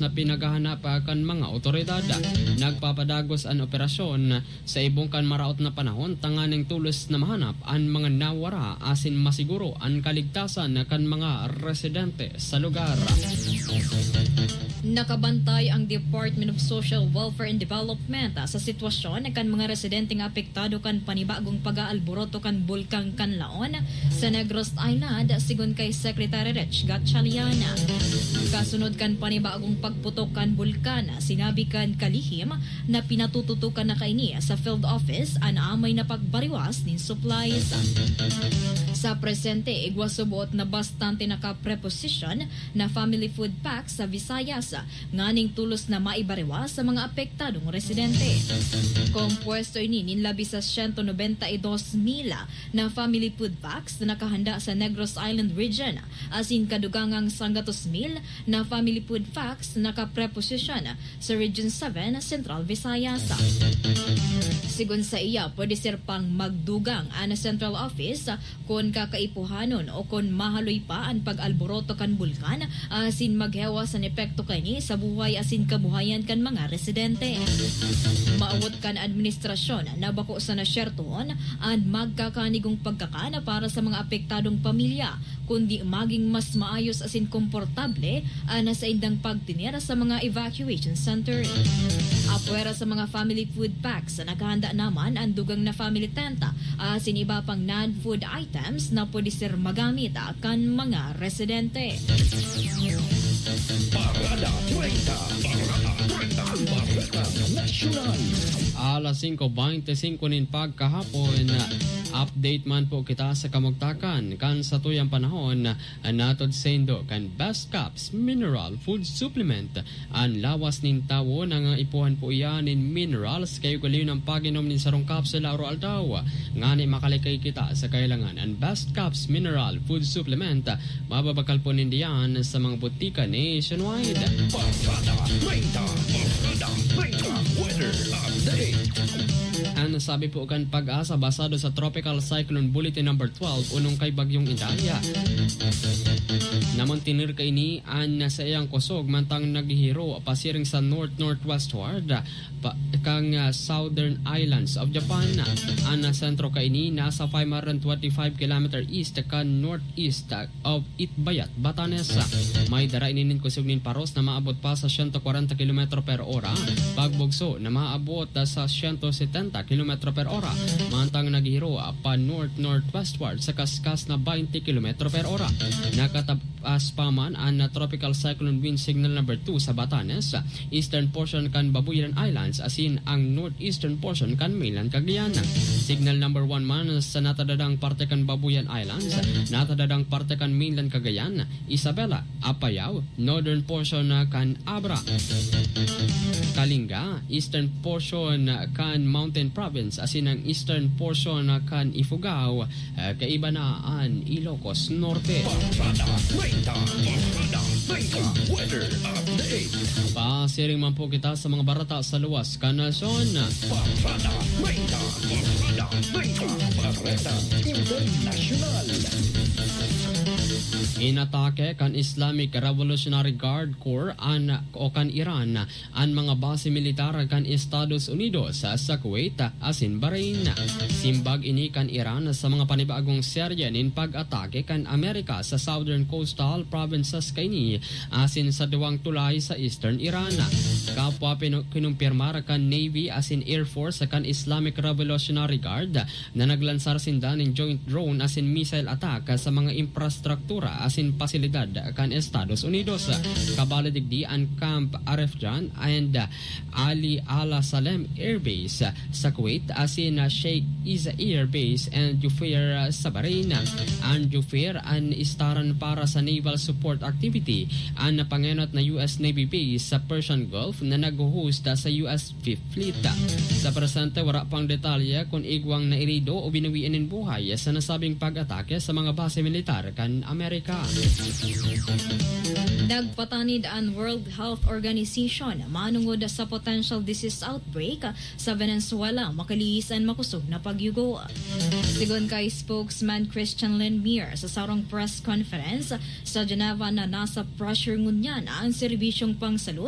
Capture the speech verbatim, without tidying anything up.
na pinaghahanap, ah, kan mga otoridad. Nagpapadagos an operasyon sa ibong kan maraot na panahon tanganing tulos na mahanap an mga nawara asin masiguro an kaligtasan kan mga residente sa lugar. Nakabantay ang Department of Social Welfare and Development sa sitwasyon kan mga residenteng apektado kan panibagong pag-aalboroto kan Bulkang Kanlaon sa Negros Island, sigon kay Secretary Rich Gatchalian. Kasunod kan panibagong pagputok kan bulkan, sinabi kan kalihim na pinatututukan na kaini sa field office an amay na pagbariwas nin supplies. Sa presente, igwa subot na bastante nakapreposisyon na family food packs sa Visayas, nganing tulos na maibariwas sa mga apektadong residente. Kompuesto ini nin labi sa siyento nobenta y dos mil na family food packs na nakahanda sa Negros Island Region, asin kadugangang sanggatos mil na family food packs na nakapreposisyon sa Region seven, Central Visayas. Sigon sa iya, pwede ser pang magdugang an Central Office kun kakaipuhanon o kun mahaloy pa an pag-alboroto kan bulkan asin maghewas an epekto kaini sa buhay asin kabuhayan kan mga residente. Maawot kan administrasyon na bako sana syertohon an magkakanigong pagkakan para sa mga apektadong pamilya, kundi maging mas maayos asin komportable an saindang pagtener sa mga evacuation center. Apwera sa mga family food packs, naghahanda naman an dugang na family tent asin iba pang non-food items na pwede ser magamit kan mga residente. Parada treinta. Parada treinta. Ang Bareta Nasyonal. Alas singko bente singko nin pagkahapon, update man po kita sa kamugtakan kan satuyang panahon, natod saindo kan Best Caps Mineral Food Supplement. An lawas nin tawo nangaipuhan po iyan nin minerals, kaya ugalion an pag-inom nin sarong kapsula aroaldaw, ngani makalikay kita sa kahilangan. An Best Caps Mineral Food Supplement, mababakal po nindiyan sa mga botika nationwide. Parada treinta, Parada treinta, weather update. An sabi po kan PAGASA, basado sa Tropical Cyclone Bulletin Number twelve, unong kay Bagyong Idalia, namantener kaini an saiyang kusog mantang naghihiro pasiring sa north-northwestward pa, kan, ah, Southern Islands of Japan. An sentro kaini nasa five hundred twenty-five kilometer east kan northeast of Itbayat, Batanes. May dara ini nin kusog nin paros na maabot pa sa siyento kwarenta kilometro per ora, pagbugso na maabot sa siyento setenta kilometro per ora, mantang naghihiro pa north-northwestward sa kaskas na baynte kilometro per ora. Nakatapas pa man an Tropical Cyclone Wind Signal Number two sa Batanes, eastern portion kan Babuyan Islands asin ang northeastern portion kan mainland Cagayan. Signal number one man sa natadadang parte kan Babuyan Islands, natadadang parte kan mainland Cagayan, Isabela, Apayao, northern portion kan Abra, Kalinga, eastern portion kan Mountain Province, asin ang eastern portion kan Ifugao, eh, kaiba na an Ilocos Norte. Parada treinta, Parada treinta, weather update. Pasiring man po kita sa mga bareta sa luwas kan nasyon. Parada treinta, Parada treinta, Bareta Internasyonal. Inatake kan Islamic Revolutionary Guard Corps an, o kan Iran, an mga base militar kan Estados Unidos sa Kuwait asin Bahrain. Simbag ini kan Iran sa mga panibagong serye nin pag-atake kan Amerika sa southern coastal provinces kaini asin sa duwang tulay sa eastern Iran. Kapwa pinu-, kinumpirmar kan Navy asin Air Force kan Islamic Revolutionary Guard na naglansar sinda nin joint drone asin missile attack sa mga infrastruktura asin pasilidad kan Estados Unidos. Kabalo digdi an Camp Arefjan and Ali Al Salem Air Base sa Kuwait asin Sheikh Isa Air Base and Jufair sa Bahrain. An Jufair an istaran para sa naval support activity, an napangenot na U S Navy base sa Persian Gulf na nagho-host sa U S Fifth Fleet. Sa presente, wara pang detalye kun igwang nairido o binawian nin buhay sa nasabing pag-atake sa mga base militar kan Amerika. Nagpatanid an World Health Organization manongod sa potential disease outbreak sa Venezuela makalihis an makosog na pagyugo. Sigon kay spokesman Christian Lindmeier sa sarong press conference sa Geneva na nasa pressure ngunyan an serbisyong pangsalud